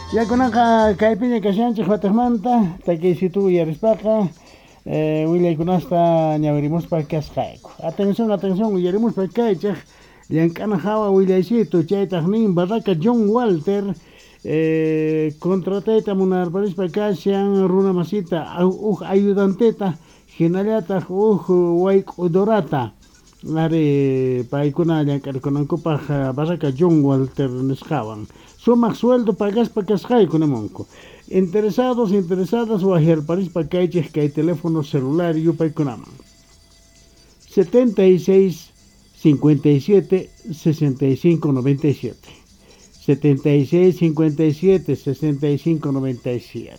Ya kunanqa kaypiña kashanchik wataqmanta takiysitu uyarispaqa willaykunasta ñawirimuspa kasqayku. Atención, atención, uyarimuspa kaychik llank'ana hawa willaysitu chaytaq nin Barraca John Walter contratayta munarparispa kashan runa masita huk ayudanteta hinallataq huk wayk'udorata ari paykuna llank'arikunankupaq Barraca John Walter nisqawan sumaq sueldo pagaspa kasqayku nimunku. Interesados, interesadas waqyarparispa kaychik kay teléfono celular yupaykunaman 76 57 65 97, 76 57 65 97.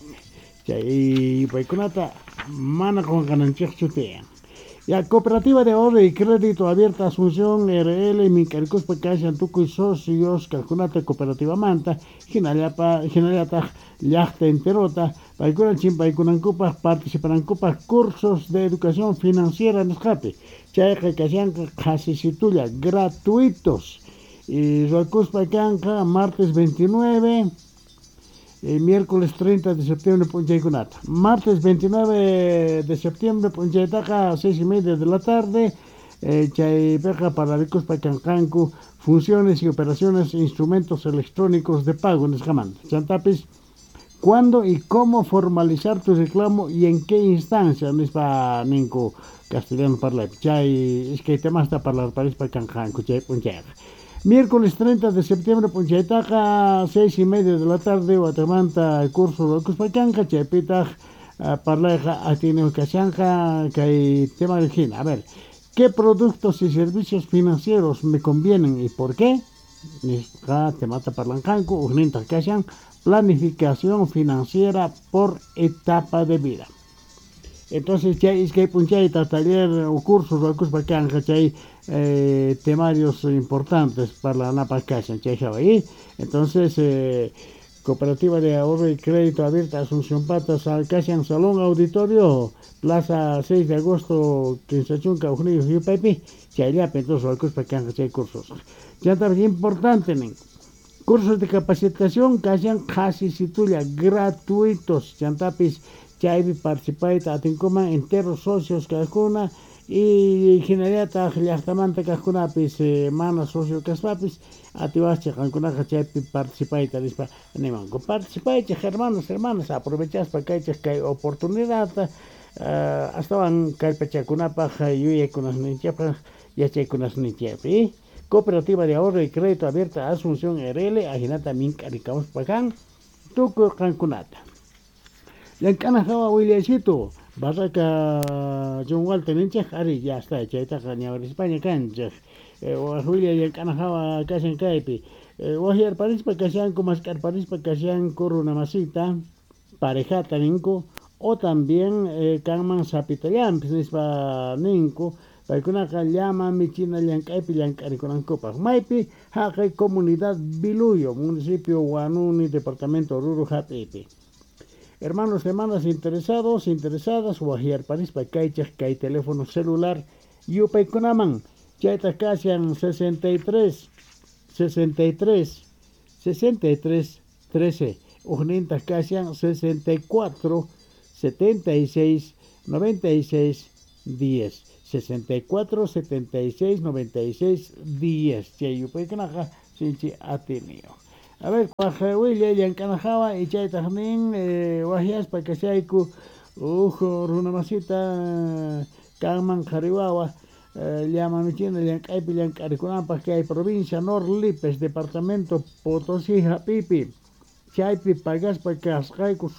Chay yupaykunata mana qunqananchikchu tiyan. Ya, Cooperativa de Ahorro y Crédito Abierta Asunción RL mink'arikuspa kashan tukuy socios kaqkunata cooperativamanta hinallapa hinallataq llaqta enterota paykuna chimpaykunankupaq participanankupaq cursos de educación financiera nisqapi chayqa kashanqa qhasisitulla gratuitos y ruwakuspa kanqa martes 29 miércoles 30 de septiembre p'unchaykunata. Martes 29 de septiembre p'unchaytaqa 6:30 de la tarde chaypiqa pararikuspa kanqanku funciones y operaciones instrumentos electrónicos de pago nisqamanta. Chantapis cuándo y cómo formalizar tu reclamo y en qué instancia nispa ninku castellano parlaypi chay iskay temasta parlarparispa kanqanku chay p'unchayqa. Miércoles 30 de septiembre p'unchaytaqa 6:30 de la tarde watamanta curso ruwakuspa kanqa chaypitaq parlayqa atiyniq kashanqa kay tema hina. A ver, ¿qué productos y servicios financieros me convienen y por qué? Nisqa temata parlanqanku ujnintaq kashan planificación financiera por etapa de vida. Entonces chay iskay p'unchayta taller o curso ruwakuspa kanqa chay temarios importantes parlanapaq kashan chay hawa. Y entonces Cooperativa de Ahorro y Crédito Abierta Asunción Patas kashan Salón Auditorio Plaza 6 de Agosto 15 hukniyuq yupaypi chayllapi entonces ruwakuspa kanqa chay cursos. Chantapis importante nin cursos de capacitación kashan qhasisitulla gratuitos chantapis chaypi participayta atinkuman enteros socios kaqkuna y hinallataq llaqtamanta kaqkunapis mana socio kaspapis atiwaqchik qankunaqa chaypi participayta nispa nimanku. Participaychik hermanos, hermanas, aprovechaspa kaychik kay oportunidadta astawan kallpachakunapaq yuyaykunasninchikpaq yachaykunasninchikpi. Cooperativa de Ahorro y Crédito Abierta Asunción RL ahinata mink'arikamuspa kan tukuy qankunata. Llank'ana hawa willaysitu Barraca John Walter ninchik ari ya está chaytaqa ñawirispaña kanchik waq willay llank'ana hawa kashan kaypi waqyarparispa kashanku mask'arparispa kashanku runa masita parejata ninku o también kanman sapitallanpis nispa ninku paykunaqa llama michina llank'aypi llank'arikunankupaq maypi haqay comunidad Biluyo municipio Huanuni departamento Oruro hap'ipi. Hermanos, hermanas interesados, interesadas, waqyarparispa kaychik kay teléfono celular yupaykunaman chaytaq kashan 63 63 63 13 ujnintaq kashan 64 76 96 10, 64 76 96 10 chay yupaykunaqa sinchi atiniyuq. A ver, waq willay llank'ana hawa y chaytaq nin waqyaspa kashayku huk runa masita kanman qhari wawa llama michina llank'aypi llank'arikunanpaq kay provincia Nor Lípez departamento Potosí hap'ipi chaypi pagaspa kasqayku.